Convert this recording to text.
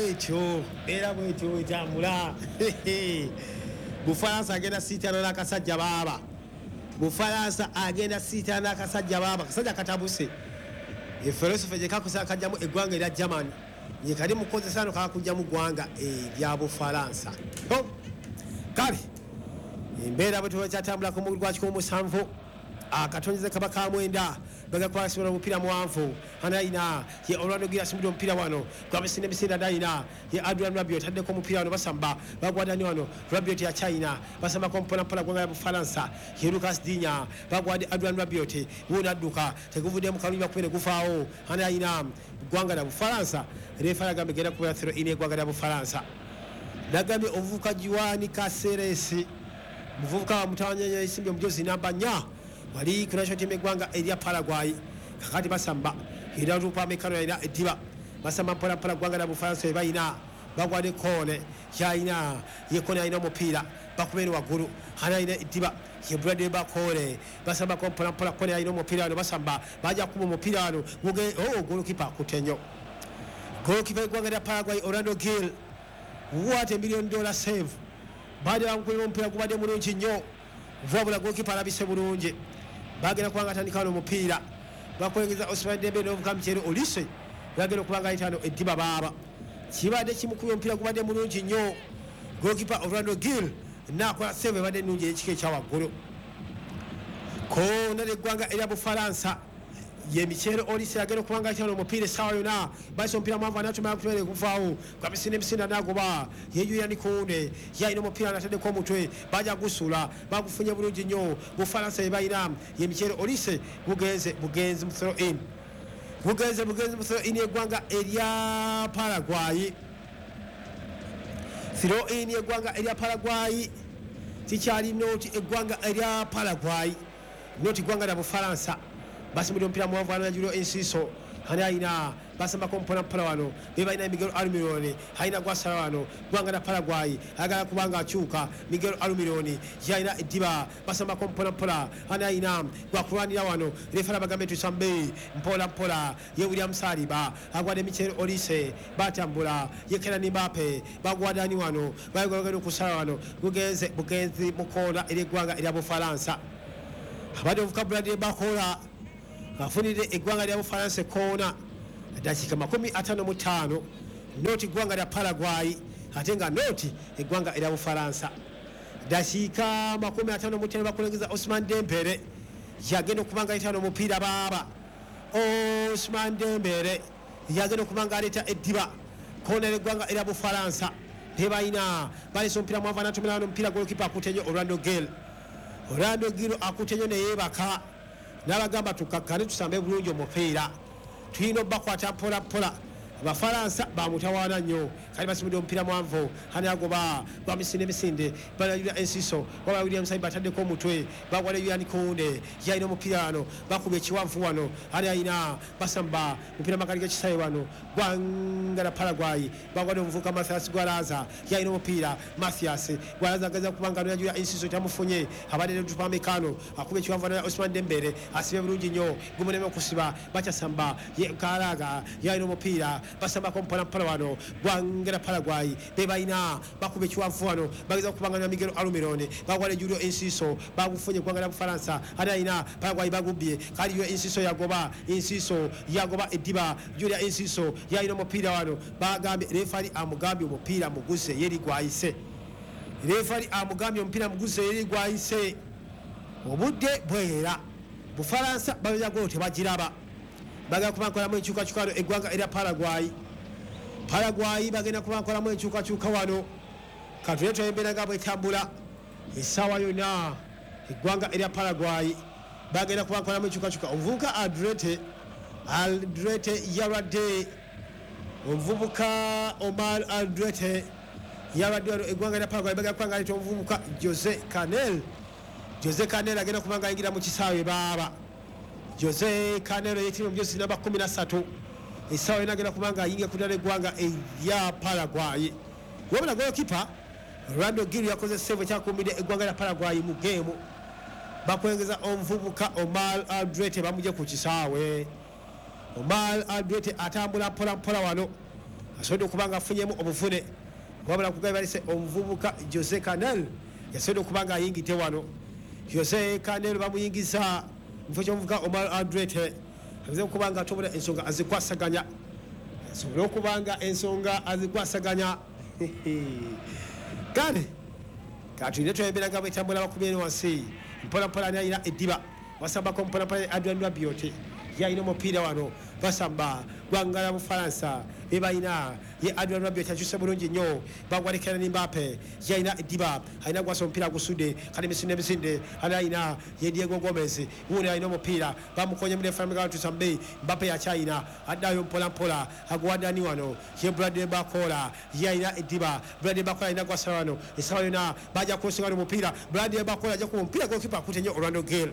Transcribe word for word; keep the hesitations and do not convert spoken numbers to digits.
Bwetyo, mbeera bwetyo wetambula. Bufalansa agenda siitana n'akasajja baaba. Bufalansa agenda siitana n'akasajja baaba. Kasajja katabuse. Efilosofe gye kakozesa kajjamu eggwanga erya Germany, ye kali mukozesa no kakujjamu ggwanga erya Bufalansa. Kale embeera bwe tuba ku mugulu gwa kikumi musanvu, akatonyeze kaba ka mwenda, bagakwasibula omupiira muwanvu. Anayina ye Orlando Gil asimbudde omupiira wano gwabisinde emisinde. Adayina ye Adrian Rabiot ataddeko omupiira wano, basamba bagwadani wano. Rabiot ya China, basambako mpolampola gwanga ya Bufalansa. Ye Lucas Dinya bagwadde Adrian Rabiot, wuno adduka, teguvuddemu kalungi, bakubere gufaawo. Anayina ggwanga lya Bufalansa. Refa agambye genda kubeera throw in eggwanga lya Bufalansa. Nagambye omuvubuka Juan Caceres, muvubuka wa mutawanya esimbye omujozi namba nnya wali ku national team eggwanga erya Paraguay. Kakati basamba era rupa mekano yalina eddiba, basamba mpola mpola ggwanga lya Bufalansa we balina bagwadde koone yalina ye koone alina omupiira, bakubere waggulu. Hana alina eddiba ye Bradley Bakole, basambako mpola mpola. Koone alina omupiira wano, basamba bajja kuba omupiira wano. Oh, golokipa akutte nnyo, golokipa eggwanga lya Paraguay Orlando Gil. What a million dollar save! Badde bamukubira omupiira gubadde mulungi nnyo, wabula golokipa alabise bulungi. Bagenda kubanga atandika wano omupiira, bakulengeza Osman Dembele n'ovuka Michele Olise, bagenda okubanga ayita wano eddiba baaba. Kibadde kimukubye omupiira gubadde mulungi nnyo, golokipa Orlando Gil n'akola save ebadde ennungi ey'ekika ekya waggulu. Koona l'eggwanga erya Bufalansa ye Michele Olise agenda okubanga ayita wano omupiira essaawa yonna. Bayisa omupiira mwanvu, anatumala kutumere guvaawo gwamisinde emisinde, anagoba ye Julian Kounde, yalina omupiira nataddeko omutwe, bajja gusuula, bagufunye bulungi nnyo. Bufalansa ye balina ye Michele Olise, bugenze bugenzi mu throw in, bugenze bugenzi mu throw in eggwanga erya Paraguay. Throw in eggwanga erya Paraguay, kikyali nought eggwanga erya Paraguay nought eggwanga lya Bufalansa. Basimbudde omupiira muwanvu, ana Julio Enciso ani alina, basambako mpola mpola wano be balina Miguel Almiron, alina gwasala wano gwanga na Paraguay, ayagala kubanga akyuka. Miguel Almiron yalina eddiba, basambako mpola mpola. Ani alina gwakulwanira wano, refala bagambe tusambe mpola mpola. Ye William Saliba agwadde Michel Olise, batambula ye Kylian Mbappe, bagwadani wano bagenda okusala wano, bugenze bugenzi mukoona eri eggwanga erya Bufalansa. Abadde ovuka Bradley Bakola afunidde eggwanga lya Bufalansa koona, dakiika makumi ataano mu ttaano, nought eggwanga lya Paraguay ate nga nought eggwanga erya Bufalansa. Dakiika makumi ataano mu ttaano, bakulengeza Osman Dembele yagenda okuba nga ayita omupiira baaba. Osman Dembele yagenda okuba nga aleeta eddiba koona eggwanga erya Bufalansa tebalina. Balesa omupiira mwanvu, anatumira wano omupiira, golokipa akutte nnyo Orlando Gil. Orlando Gil akutte nnyo neyeebaka n'abagamba tukakkane tusambe bulungi omupiira, tulina obbakwata mpola mpola. Abafalansa bamutawaana nnyo. Kali basimudde omupiira mwanvu, hani agoba gwamisinde emisinde, balayulira Enciso waba William Saliba ataddeko omutwe, bagwala Julian Kounde yalina omupiira wano, bakuba ekiwanvu wano, hani alina basamba mupiira magali g'ekisaawe wano gwanga la Paraguay, bagwadde omuvubuka Mathias Gwalaza yalina omupiira. Mathias Gwalaza ageza kubanga Julian Enciso tamufunye, abadde Upamecano akuba ekiwanvu wano, Osman Dembele asibye bulungi nnyo, gumuneme okusiba, bakyasamba ye Karaga yalina omupiira, basambako mpola mpola wano gwanga la Paraguay be balina, bakuba ekiwanvu wano, bageza okubanga na Miguel Almiron, bagwala Julio Enciso, bagufunye gwanga la Bufalansa. Ani alina Paraguay bagubbye, kali Julio Enciso yagoba, Enciso yagoba eddiba. Julio Enciso yalina omupiira wano, bagambye refari amugambye omupiira muguse yeri gwayise. Refari amugambye omupiira muguse yeri gwayise. Obudde bwera, Bufalansa babeza golo tebagiraba, bagenda kuba nkolamu enkyukakyuka wano eggwanga erya Paraguay. Paraguay bagenda kuba nkolamu enkyukakyuka wano. Katule embeera nga bwetambula essaawa yonna, eggwanga erya Paraguay bagenda kuba nkolamu enkyukakyuka. Omuvubuka Aldrete, Aldrete yalwadde, omuvubuka Omar Aldrete yalwadde wano eggwanga erya Paraguay bagenda kuba nga aleeta omuvubuka Jose Canel. Jose Canel agenda kuba nga ayingira mu kisaawe baaba. Jose Canelo yetibwa omujozi namba kumi na ssatu, essaawa yonna agenda kuba nga ayingira ku ddala eggwanga erya Paraguay. Wabula golokipa Orlando Gil yakoze save ekyakuumidde eggwanga lya Paraguay mu geemu. Bakwengeza omuvubuka Omar Aldrete bamugye ku kisaawe. Omar Aldrete atambula mpola mpola wano, Asobodde okuba nga afunyemu obuvune, wabula kugabe balese omuvubuka Jose Canel yasobodde okuba nga ayingidde wano. Jose Canel bamuyingiza mu kifo ky'omuvubuka Omar Alderete, aze okuba nga atobula ensonga azikwasaganya, asobole okuba nga ensonga azikwasaganya. Kale katulinde twembeera nga bwetambula. Bakubye eno wansi mpolampola. Ani alina eddiba? Basambako mpolampola. Adrian Rabiot yalina omupiira wano. Basamba gwanga la Bufalansa bebalina. Ye Adrian Rabiot akyuse bulungi nnyo, bagwalekera ne Mbappe. Yalina eddiba, alina gwasa omupiira agusudde. Kale misinde misinde. Ani alina? Ye Diego Gomez wuno alina omupiira, bamukonye mulefamugaatusambe. Mbappe yakyayina, addayo mpolampola, aguwadani wano. Ye Bradley Barcola ye alina eddiba. Bradley Barcola alina gwasa wano. Esawa yonna bajja kusinga omupiira. Bradley Barcola ajja kuba omupiira, gokipa akute nnyo Orlando Gale.